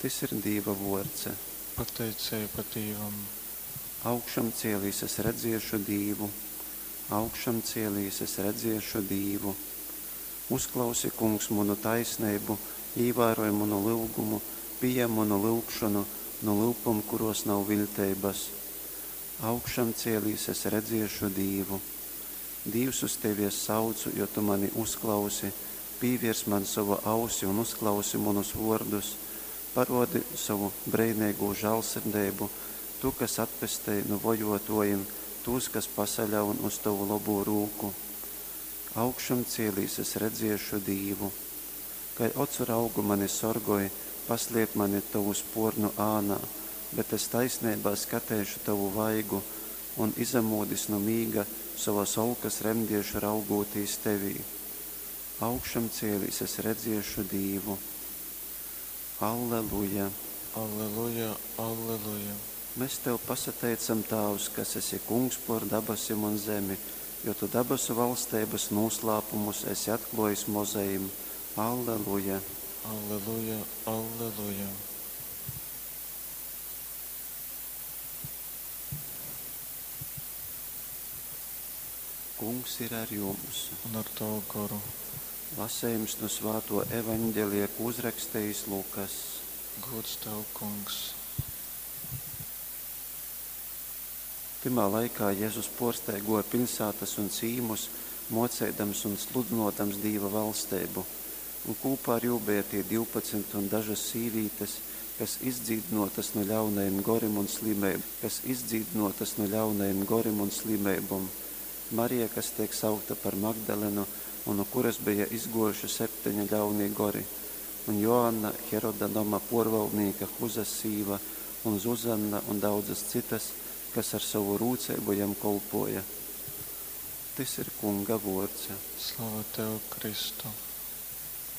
Tys ir Dīva vuords. Pateiceiba Dīvam. Augšamcielīs es redziešu Dīvu. Augšamcielīs es redziešu Dīvu. Uzklausi, Kungs, munu taisneibu, īvāroj munu lyugumu, pījem munu lyugšonu nu lyupom, kuruos nav viļteibas. Augšamcielīs es redziešu Dīvu. Dīvs, uz tevi es saucu, jo tu mani uzklausi, pīviers man sovu ausi un uzklausi munus vuordus, paruodi sovu breineigū žālsirdeibu, tu, kas atpestej nu vojuotuojim tūs, kas pasaļaun uz tovu lobū rūku. Augšamcielīs es redziešu Dīvu. Kai ocu raugu mani sorgoj, pasliep mani tovu spuornu ānā, bet es taisneibā skateišu tovu vaigu un, izamūdis nu mīga, sovas olkas remdiešu raugūtīs tevī. Augšamcielīs es redziešu Dīvu. Alleluja! Alleluja, alleluja. Mes tev pasateicam, Tāvs, kas esi Kungs puor dabasim un zemi, jo tu dabasu valsteibas nūslāpumus esi atkluojis mozajim. Alleluja! Alleluja, alleluja. Kungs ir ar jums! Un ar tavu goru. Lasejums nu Svātuo Evaņgelija, kū uzrakstejis Lukass. Gūds tev, Kungs. Tymā laikā Jezus puorstaiguoja piļsātas un cīmus, muoceidams un sludynuodams Dīva valsteibu. Un kūpā ar jū beja tī 12 un dažas sīvītes, kas izdzīdynuotas nu ļaunajim gorim un slimeibom, kas izdzīdynuotas nu ļaunajim gorim un slimeibom, Marija, kas teik saukta par Magdalenu un nu kuras beja izguojuši septeni ļaunī gori, un Joanna, Heroda noma puorvaldnīka Huzas sīva, un Zuzanna un daudzas cytas, kas ar sovu rūceibu jam kolpuoja. Tys ir Kunga vuords. Slava tev, Kristu.